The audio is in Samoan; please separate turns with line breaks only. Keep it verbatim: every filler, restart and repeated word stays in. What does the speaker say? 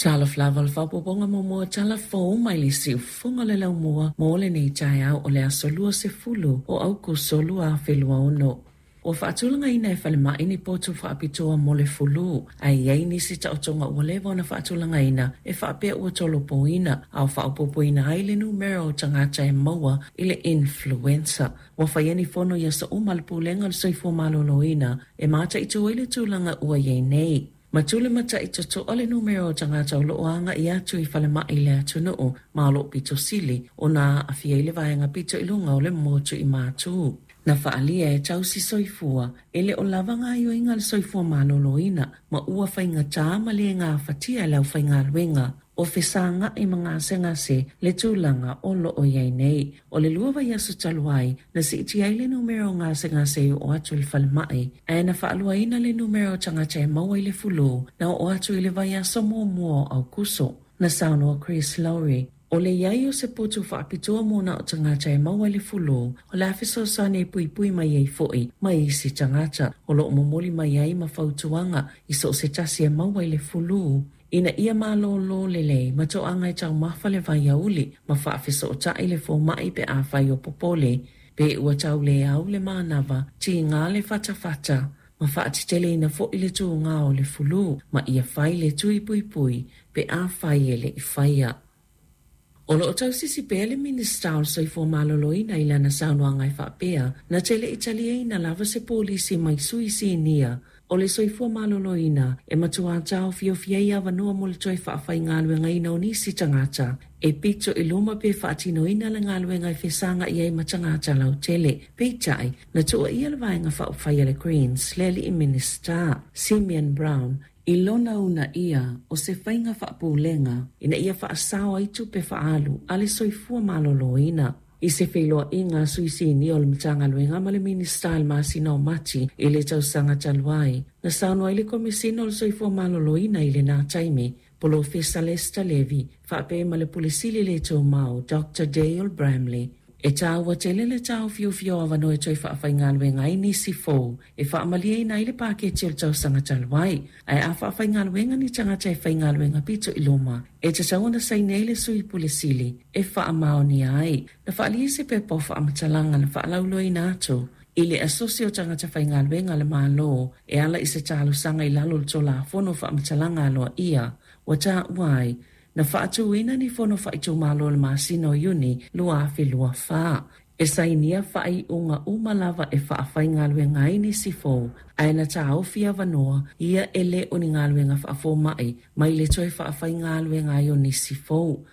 Talofa lava o le faaopoopoga muamua o tala fou mai le siufofoga o le laumua mo lenei taeao o le aso luasefulu o Aukuso lua afe lua ono. Ua faatulagaina e falemai ni potu faapitoa mo le fulu, ae i ai nisi taotoga ua leva ona faatulagaina e faapea ua tolopoina a o faaopoopoina ai le numera o tagata e maua i le influenza. Ua faia ni fono i aso uma a le Pulega o le Soifua Maloloina e mataitu ai le tulaga ua i ai nei. Ma matai totoa le numera o tagata o loo aga'i atu i falemai i le atunuu ma o loo pito sili ona aafia ai le vaega pito i luga o le motu i Matu. Na faalia e tausi soifua e le o lava gaoioiga a le soifua maloloina ma ua faigata ma le gafatia e le aufaigaluega o fesaga'i ma gasegase le tulaga o loo i ai nei. O le lua vaiaso talu ai, na siitia ai le numera o gasegase e oo atu i le falemai, ae na faaluaina le numera o tagata e maua i le fulu na oo atu i le vaiaso muamua o Aukuso. Na saunoa Chris Lowry, o le iai o se potu faapitoa mo na o tagata e maua i le fulu, o le a fesoasoani e puipui mai ai foi mai isi tagata o loo momoli mai ai ma fautuaga i so o se tasi e maua i le fulu ina ia malōlō lelei ma toaga e taumafa le vaiauli ma faafesootai le foma'i pe afai o popole pe ua tauleau le manava tiga le fatafata ma faateteleina fo'i le tugā o le fulu ma ia fai le tui puipui pe afai e le'i faia. O loo tausisi pea le Minista o le Soifua Maloloina i lana saunoaga e faapea na te le i taliaina lava se polisi mai sui sinia o le soifua maloloina e matuā taofiofia ai avanoa mo le toe faafaigaluegaina o nisi tagata e pito i luma pe faatinoina le galuega e fesaga'i ai ma tagata lautele. Peitai, na tuuaia le Vaega Faaupufai a le Greens le alii Minista Simeon Brown i lona uunaia o se faiga faapulega ina ia faasao ai tupe faaalu a le soifua maloloina. I se feiloaiga a sui sinia o le Matagaluega ma le Minista i le masina o Mati i le tausaga talu ai, na saunoa ai le Komesina o le Soifua Maloloina i lena taimi, Polofesa Lester Levy, faapea ma le Pule Sili le Tumau, Doctor Dale Bramley, e tāua tele le taofiofia o avanoa e toe faafaigaluega ai nisi fou e faamalieina ai le paketi o le tausaga talu ai. Ae a faafaigaluega ni tagata e faigaluega pito i luma, e tatau ona saini ai le sui pule sili e faamaonia ai. Na faaalia se pepa o faamatalaga na faalauiloaina atu i le asosi o tagata faigaluega a le Malo e ala i se talosaga i lalo o le Tulafono Faamatalaga Aloaia ua taua ai na faatuina ni fono faaitumalo i le masina o Iuni lua afe lua fa. E sainia faaiuga uma lava e faafaigaluega ai nisi fou, ae na taofi avanoa ia e le o ni galuega faafoma'i mai le toe faafaigaluega ai o nisi fou.